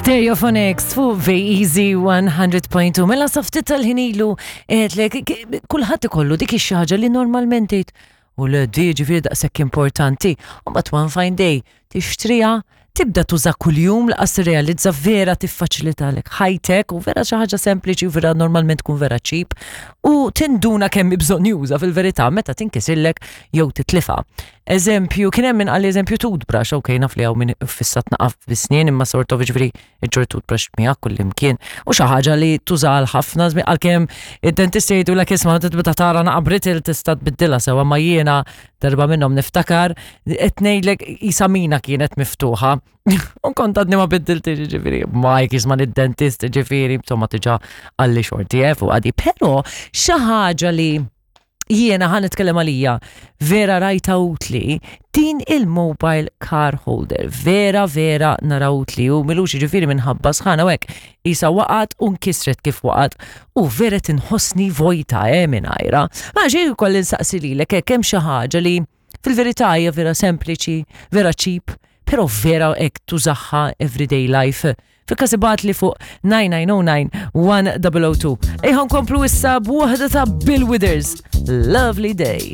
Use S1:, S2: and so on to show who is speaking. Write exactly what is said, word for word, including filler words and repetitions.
S1: Stereophonics fuq V-Easy one hundred point two. Mela sa ftit tal-ħin ilu għedtlek, kulħadd ikollu dik ix-xi li normalment tgħid u le di ġifieri daqshekk importanti. U but one fine day tixtriha, tibda tuża kuljum, lanqas tirrealizza vera tiffaċilitalek ħajtek u vera xi ħaġa sempliċi u vera normalment tkun vera cheap u tinduna kemm bżonnjuża fil-verità meta tinkisirlek jew titlifa. Eżempju, kien hemm min qal eżempju toothbrush, ok, naf li hawn min fissat naqaf bis-snien, imma sort of ġifieri iġġorr toothbrush miegħek kullimkien u xi ħaġa li tuża għal ħafna żmien, għalkemm id-dentist jgħidulek, isma', tibda tara naqa brittle tista' tbiddilha sewwa, ma jiena darba minnhom niftakar qed ngħidlek isa mina kienet miftuħa. U kont għadni ma biddilti, ġifieri, Mike jisma' id-dentist, ġifieri, insomma diġà għalli xorti eh, fuq għadi. Però xi ħaġa li jiena ħa nitkellem għalija vera rajta utli, din il-mobile car holder, vera vera nara utli u m'ilux ġifieri minħabba sħana u hekk isa waqat u nkisret kif waqat u vera tinħossni vojta eh mingħajrha. Ma xejn ukoll insaqsi lilek hekk, hemm xi ħaġa li fil-verità hija vera sempliċi, vera cheap, però vera hekk tużaha everyday life? Fil-każ ibgħatli fuq nine nine zero nine one zero zero two. Ejja nkomplu issa b'waħda ta' Bill Withers, "Lovely Day".